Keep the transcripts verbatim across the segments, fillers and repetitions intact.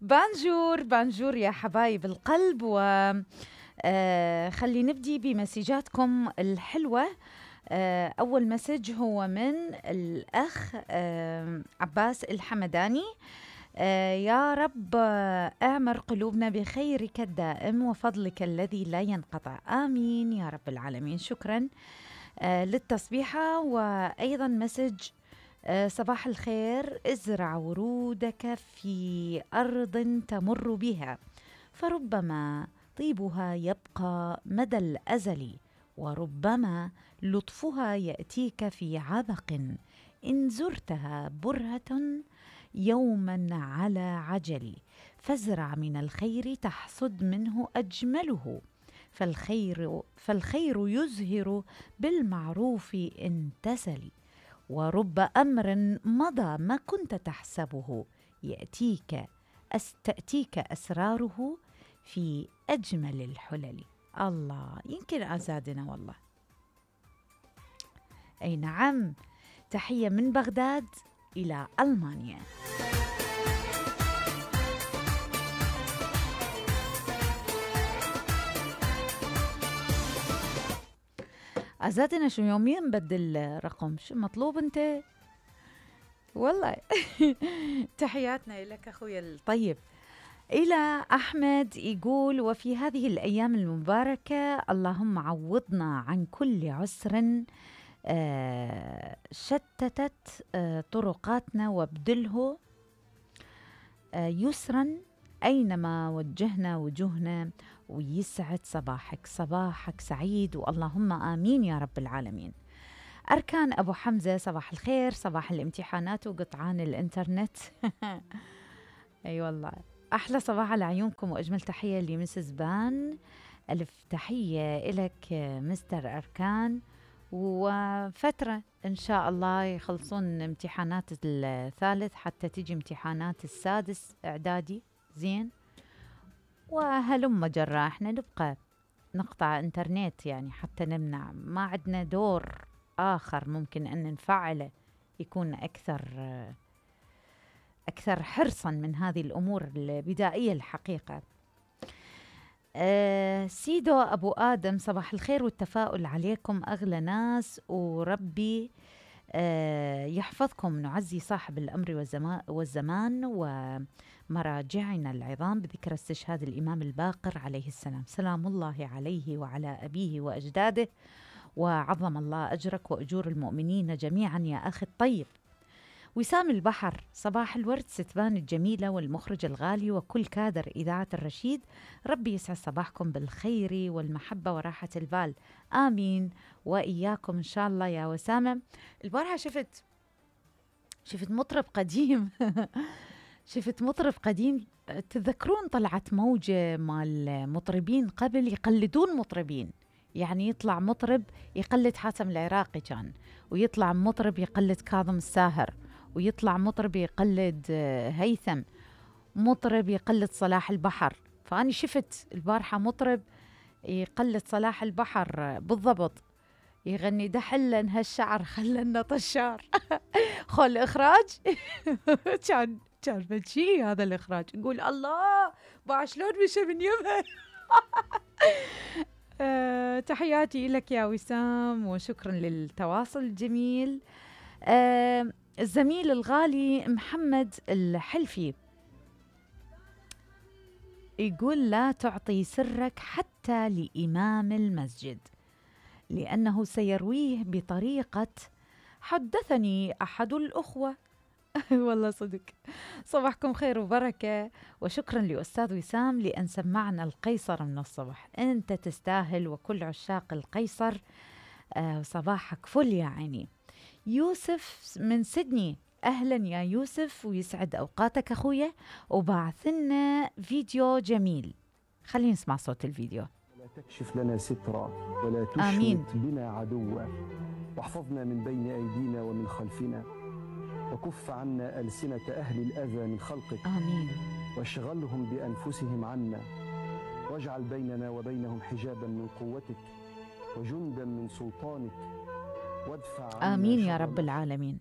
بانجور بانجور يا حبايب القلب. و آه خلي نبدي بمسجاتكم الحلوة. آه أول مسج هو من الأخ آه عباس الحمداني. آه يا رب آه اعمر قلوبنا بخيرك الدائم وفضلك الذي لا ينقطع، آمين يا رب العالمين. شكرا آه للتصبيحة. وأيضا مسج آه صباح الخير، ازرع ورودك في أرض تمر بها فربما طيبها يبقى مدى الأزل، وربما لطفها يأتيك في عبق، إن زرتها برهة يوما على عجل، فازرع من الخير تحصد منه أجمله، فالخير, فالخير يزهر بالمعروف إن تسل، ورب أمر مضى ما كنت تحسبه يأتيك أس تأتيك أسراره في أجمل الحلل. الله، يمكن أزادنا والله. أي نعم، تحية من بغداد إلى ألمانيا. أزادنا شو يوميا نبدل رقم، شو مطلوب أنت والله. تحياتنا لك أخويا الطيب. إلى أحمد يقول: وفي هذه الأيام المباركة اللهم عوضنا عن كل عسر آه شتتت آه طرقاتنا وابدله آه يسرا أينما وجهنا وجوهنا، ويسعد صباحك، صباحك سعيد، واللهم آمين يا رب العالمين. أركان أبو حمزة: صباح الخير، صباح الامتحانات وقطعان الإنترنت. أي والله، أحلى صباح على عيونكم، وأجمل تحية لمسز بان. ألف تحية إلك مستر أركان، وفترة إن شاء الله يخلصون امتحانات الثالث حتى تيجي امتحانات السادس إعدادي زين، وهلم جرى احنا نبقى نقطع انترنت يعني حتى نمنع، ما عندنا دور آخر ممكن أن نفعله يكون أكثر أكثر حرصاً من هذه الأمور البدائية الحقيقة. أه سيدو أبو آدم: صباح الخير والتفاؤل عليكم أغلى ناس، وربي أه يحفظكم. نعزي صاحب الأمر والزمان ومراجعنا العظام بذكر استشهاد الإمام الباقر عليه السلام، سلام الله عليه وعلى أبيه وأجداده، وعظم الله أجرك وأجور المؤمنين جميعا يا أخي الطيب. وسام البحر: صباح الورد ستبان الجميلة والمخرج الغالي وكل كادر إذاعة الرشيد، ربي يسعد صباحكم بالخير والمحبة وراحة البال، آمين وإياكم إن شاء الله يا وسامة. البارحة شفت شفت مطرب قديم شفت مطرب قديم، تذكرون طلعت موجة مال مطربين قبل يقلدون مطربين، يعني يطلع مطرب يقلد حاتم العراقي كان، ويطلع مطرب يقلد كاظم الساهر، ويطلع مطرب يقلد هيثم، مطرب يقلد صلاح البحر. فأنا شفت البارحة مطرب يقلد صلاح البحر بالضبط، يغني دحلن هالشعر خلنا طشار. خل الإخراج كان كان بشي هذا الإخراج، نقول الله باع شلون مشى من يمها. أه تحياتي لك يا وسام، وشكرا للتواصل الجميل. أه الزميل الغالي محمد الحلفي يقول: لا تعطي سرك حتى لإمام المسجد لأنه سيرويه بطريقة حدثني أحد الأخوة. والله صدق. صباحكم خير وبركة، وشكرا لأستاذ وسام لأن سمعنا القيصر من الصبح، أنت تستاهل وكل عشاق القيصر. آه صباحك فل يا عيني. يوسف من سيدني: أهلا يا يوسف ويسعد أوقاتك أخويا، وبعثنا فيديو جميل، خلينا نسمع صوت الفيديو. لا تكشف لنا سترا ولا تشمت بنا عدوا، واحفظنا من بين أيدينا ومن خلفنا، وكف عنا ألسنة أهل الأذى من خلقك، آمين، واشغلهم بأنفسهم عنا، واجعل بيننا وبينهم حجابا من قوتك وجندا من سلطانك، وادفع عنا آمين يا رب العالمين،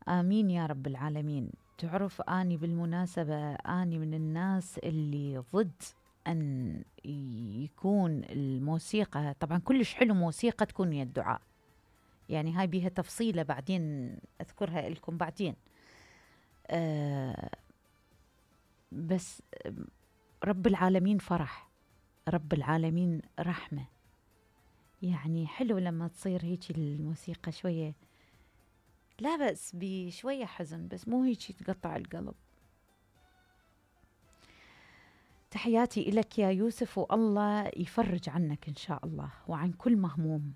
آمين يا رب العالمين. تعرف أني بالمناسبة أني من الناس اللي ضد أن يكون الموسيقى، طبعا كلش حلو موسيقى تكون ويا الدعاء، يعني هاي بيها تفصيلة بعدين أذكرها لكم بعدين. آه بس رب العالمين فرح، رب العالمين رحمة، يعني حلو لما تصير هيك الموسيقى شوية، لا بأس بشوية حزن بس مو هيك تقطع القلب. تحياتي إلك يا يوسف، والله يفرج عنك إن شاء الله وعن كل مهموم.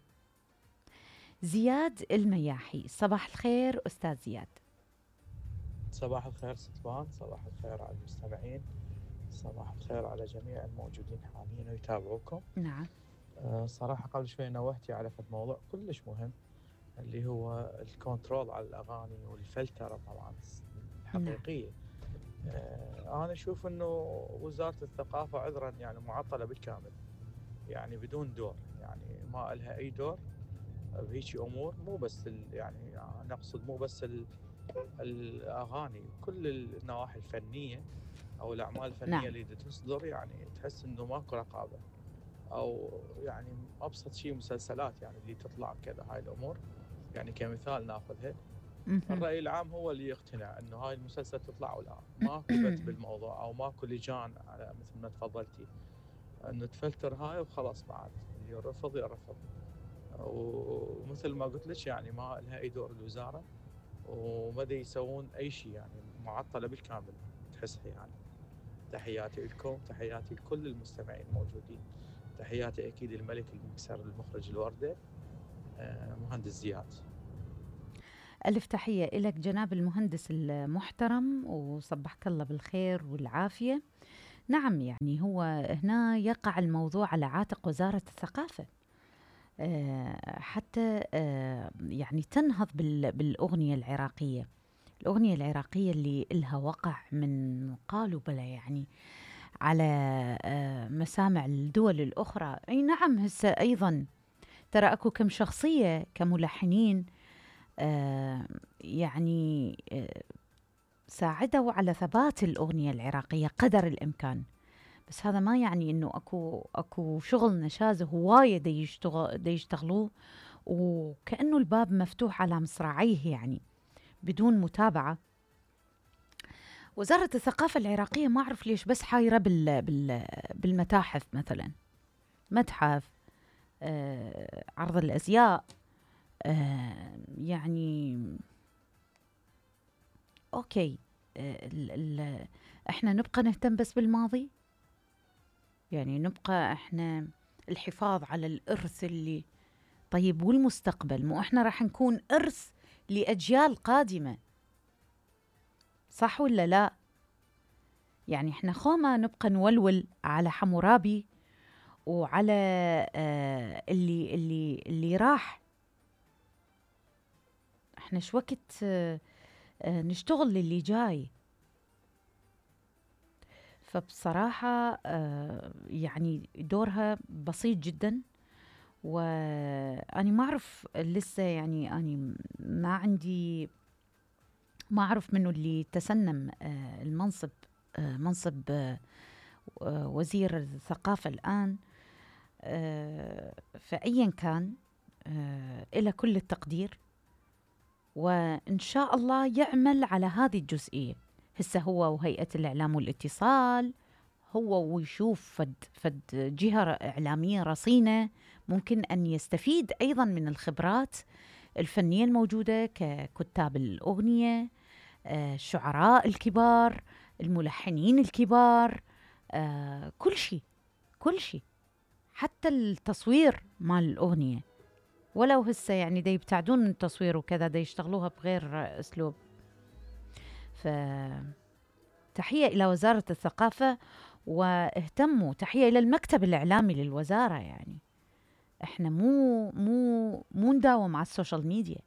زياد المياحي، صباح الخير أستاذ زياد. صباح الخير ستوان، صباح الخير على المستمعين، صباح الخير على جميع الموجودين حاليا ويتابعوكم. نعم. أه صراحة قبل شوي نوهتي على فد موضوع كلش مهم اللي هو الكنترول على الأغاني والفلترة طبعا الحقيقية. نعم. أه أنا أشوف أنه وزارة الثقافة عذرا يعني معطلة بالكامل، يعني بدون دور، يعني ما لها أي دور بهيك أمور. مو بس يعني نقصد مو بس الأغاني، كل النواحي الفنية أو الأعمال الفنية. نعم. اللي تصدر يعني تحس إنه ماكو رقابة، أو يعني أبسط شيء مسلسلات يعني اللي تطلع كذا هاي الأمور، يعني كمثال ناخذها. الرأي العام هو اللي يقتنع إنه هاي المسلسل تطلع ولا ماكو بت بالموضوع، أو ماكو لجان على مثل ما تفضلتي إنه تفلتر هاي وخلاص، بعد اللي يرفض يرفض. ومثل ما قلت لك يعني ما لها أي دور الوزارة، وما يسوون أي شيء، يعني معطلة بالكامل تحسها يعني. تحياتي لكم، تحياتي لكل المستمعين الموجودين، تحياتي أكيد الملك المكسر المخرج الوردة مهندس زياد. ألف تحية إلك جناب المهندس المحترم، وصبحك الله بالخير والعافية. نعم، يعني هو هنا يقع الموضوع على عاتق وزارة الثقافة حتى يعني تنهض بالأغنية العراقية. الأغنية العراقية اللي إلها وقع من قالوا بلا يعني على مسامع الدول الأخرى. أي نعم، هسه أيضا ترى أكو كم شخصية كملحنين يعني ساعدوا على ثبات الأغنية العراقية قدر الإمكان، بس هذا ما يعني إنه أكو أكو شغل نشاز هواية دي يشتغل دي يشتغلوه، وكأنه الباب مفتوح على مصراعيه يعني بدون متابعة. وزارة الثقافة العراقية ما أعرف ليش بس حايرة بال بال بالمتاحف مثلا، متحف آه، عرض الأزياء آه، يعني أوكي آه، ال ال إحنا نبقى نهتم بس بالماضي، يعني نبقى إحنا الحفاظ على الإرث اللي طيب، والمستقبل مو إحنا راح نكون إرث لأجيال قادمة، صح ولا لا؟ يعني إحنا خوما نبقى نولول على حمورابي وعلى آه اللي اللي اللي راح، إحنا شو وقت آه آه نشتغل للي جاي. فبصراحة آه يعني دورها بسيط جدا، وأنا ما أعرف لسه، يعني أنا ما عندي ما أعرف منه اللي تسنم آه المنصب آه منصب آه وزير الثقافة الآن، آه فأيا كان آه إلى كل التقدير، وإن شاء الله يعمل على هذه الجزئية. هسه هو وهيئة الإعلام والاتصال، هو ويشوف فد, فد جهة إعلامية رصينة ممكن أن يستفيد أيضا من الخبرات الفنية الموجودة ككتاب الأغنية، آه الشعراء الكبار، الملحنين الكبار، آه كل شيء كل شيء، حتى التصوير مال الأغنية، ولو هسه يعني دا يبتعدون من التصوير وكذا، دا يشتغلوها بغير أسلوب. فتحية إلى وزارة الثقافة، واهتموا، تحية إلى المكتب الإعلامي للوزارة. يعني إحنا مو مو مو نداوم على السوشيال ميديا،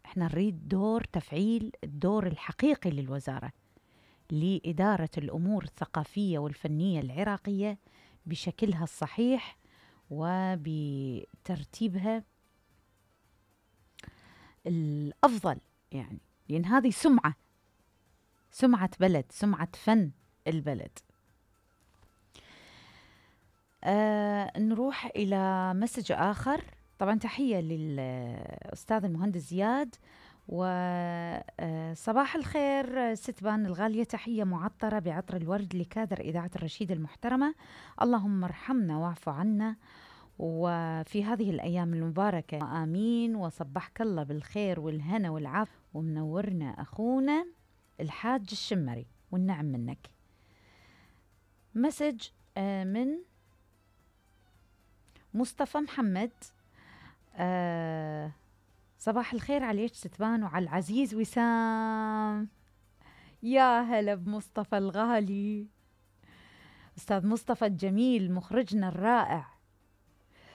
إحنا نريد دور تفعيل الدور الحقيقي للوزارة لإدارة الأمور الثقافية والفنية العراقية بشكلها الصحيح وبترتيبها الأفضل، يعني لأن هذه سمعة سمعة بلد، سمعة فن البلد. آه نروح إلى مسج آخر. طبعا تحية للأستاذ المهندس زياد، وصباح الخير ستبان الغالية، تحية معطرة بعطر الورد لكادر إذاعة الرشيد المحترمة، اللهم ارحمنا واعف عنا وفي هذه الأيام المباركة آمين، وصبحك الله بالخير والهنا والعافية، ومنورنا أخونا الحاج الشمري والنعم منك. مسج من مصطفى محمد. آه صباح الخير عليك ستبان وعلى العزيز وسام. يا هلا بمصطفى الغالي، أستاذ مصطفى الجميل مخرجنا الرائع.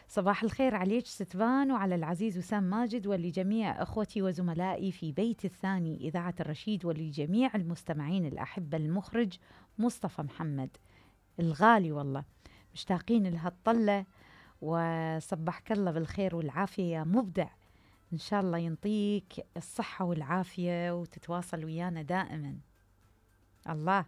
صباح الخير عليك ستبان وعلى العزيز وسام ماجد ولجميع أخوتي وزملائي في بيت الثاني إذاعة الرشيد، ولجميع المستمعين الأحبة. المخرج مصطفى محمد الغالي، والله مشتاقين لهالطلة، وصبحك الله بالخير والعافية يا مبدع، إن شاء الله ينطيك الصحة والعافية وتتواصل ويانا دائما. الله.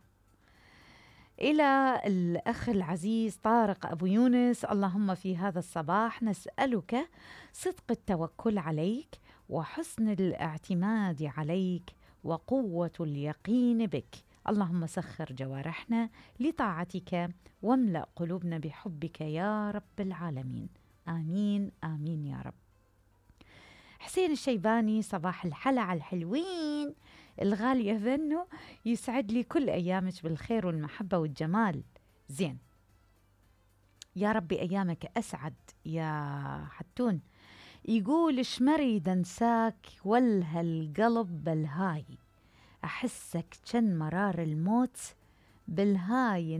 إلى الأخ العزيز طارق أبو يونس، اللهم في هذا الصباح نسألك صدق التوكل عليك وحسن الاعتماد عليك وقوة اليقين بك، اللهم سخر جوارحنا لطاعتك واملأ قلوبنا بحبك يا رب العالمين، آمين آمين يا رب. حسين الشيباني، صباح الحلا على الحلوين الغالية ذنو، يسعد لي كل أيامك بالخير والمحبة والجمال. زين، يا ربي أيامك أسعد يا حتون. يقول شمري دنساك والها القلب بالهاي، أحسك كن مرار الموت بالهاي